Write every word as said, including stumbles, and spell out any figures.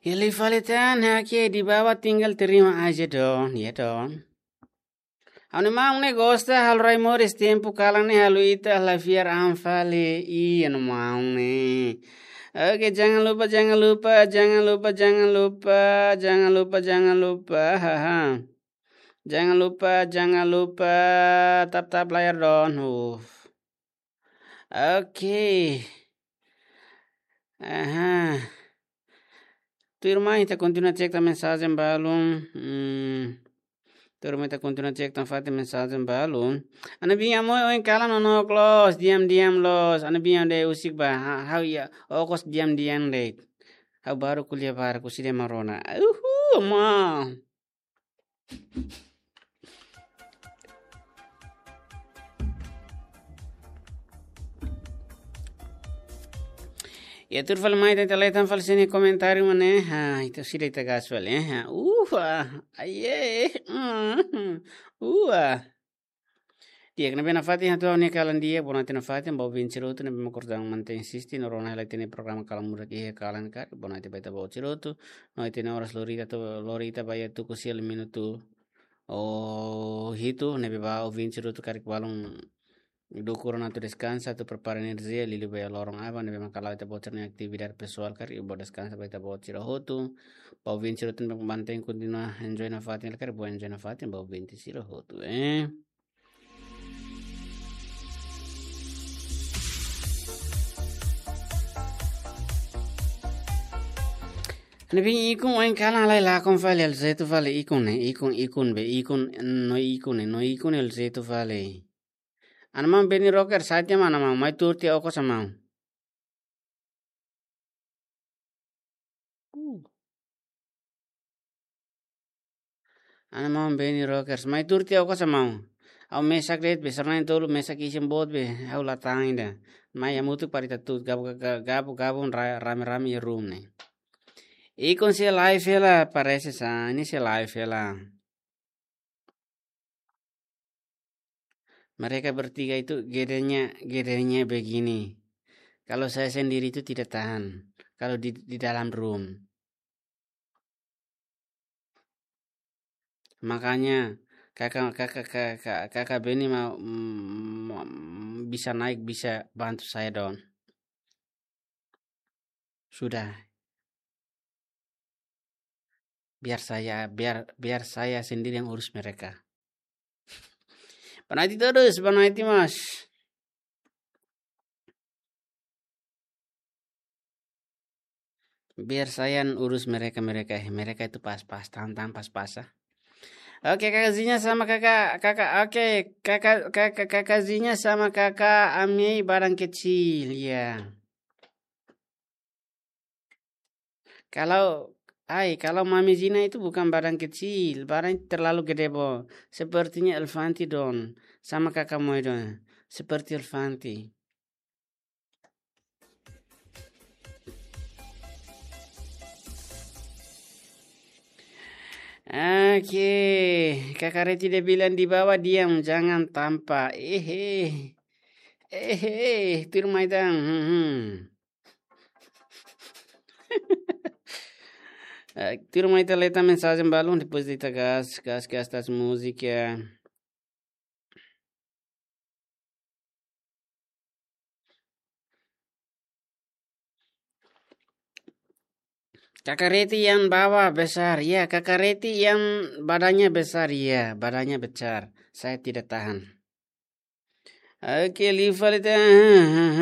Liu fali tan, oke, di bawah tinggal terima aja dong, ya dong. Ha'u-nia maun ne'e gosta halo rai moris tempu kalan ne'e halo ita la fiar an fali. Iya, ha'u-nia maun ne'e. Oke, jangan lupa, jangan lupa, jangan lupa, jangan lupa, jangan lupa, jangan lupa, haha. Jangan lupa, jangan lupa, tap-tap layar dong. Uff. Oke. Aha. Tuirmai ita kontinua cek tan mensajen balun. Hmm. Tuirmai ita kontinua cek tan fatin mensajen balun. Ha'u-nia biin Amoy ohin kalan nonook loos, diam-diam loos. Ha'u-nia biin de'it husik ba. Ha, ha'u iha okos diam-diam de'it. Ha'u baru ko'alia barak, husi de'it mak rona. Uhu, ma. Ya, tuir fali mai, ita lee tan fali sira-nia komentáriu mak ne'e. Ha, ita sira ita gas fali, eh. Ha, uha, aye, mm, uha. Di'ak, ne'ebé nafatin hato'o ha'u-nia kalan di'ak, bonatin nafatin ba ouvinte sira hotu ne'ebé mak kortan mantein asiste no rona hela ita-nia programa Kalan Muda iha kalan karik, bonatin ba ita-boot sira hotu, no ita-nia oras lori ita to'o, lori ita ba iha tuku sia liu minutu hitu, ne'ebé ba ouvinte sira hotu karik balun dukur ona atu deskansa, atu prepara enerjia, liuliu ba iha loron aban, ne'ebé mak hala'o ita-boot sira-nia atividade pesoál karik, bele deskansa ba ita-boot sira hotu, ba ouvinte sira hotu ne'ebé mantein kontinua enjoy nafatin, karik bele enjoy nafatin, ba ouvinte sira hotu, eh. Ha'u-nia biin Ikun ohin kalan halai lakon fali, halo jeitu fali Ikun ne'e, Ikun, Ikun be, Ikun, no Ikun ne'e, no Ikun ne'e halo jeitu fali. Ha'u-nia maun Benny Rocker, saja mana mau, mai tuur tiha okos maun. Uh. Ha'u-nia maun Benny Rockers, mai tuur tiha okos maun. Ha'u mesak de'it be, sarani tolu mesak isin boot be, ha'u la tan ida. Mai hamutuk para ita tuur, gabu, ga-, ga-, gabu, gabu, ra-, rame-rame iha room ne'e. Ikun sei live hela, parese sa, ne'e sei live hela. Mereka bertiga itu gedenya, gedenya begini. Kalau saya sendiri itu tidak tahan. Kalau di, di dalam room. Makanya kakak, kakak, kakak, kakak Benny mau, mm, bisa naik, bisa bantu saya dong. Sudah. Biar saya, biar, biar saya sendiri yang urus mereka. Banaiti terus, banaiti mas. Biar saya yang urus mereka, mereka, eh, mereka itu pas-pas, tahan-tahan pas-pas, ah. Oke, Kakak Zinya sama Kakak, Kakak, oke, Kakak, Kakak, Kakak Zinya sama Kakak Amei badan kecil, ya. Kalau, ai, kalau Mami Zina itu bukan badan kecil, badan terlalu gede, bo. Sepertinya Elvanti don, sama Kakak Moy don, seperti Elvanti. Oke, Kakak Reti dia bilang di bawah diam, jangan tampak. Ehe. Ehe, tuirmai tan. Hmm, hmm. Eh, tuirmai ita lee tan mensajen balun, depois ita gas, gas, gas tas múzika. Kakak Reti yang bawah besar, ya, Kakak Reti yang badannya besar, ya, badannya besar. Saya tidak tahan. Oke, liu fali tan.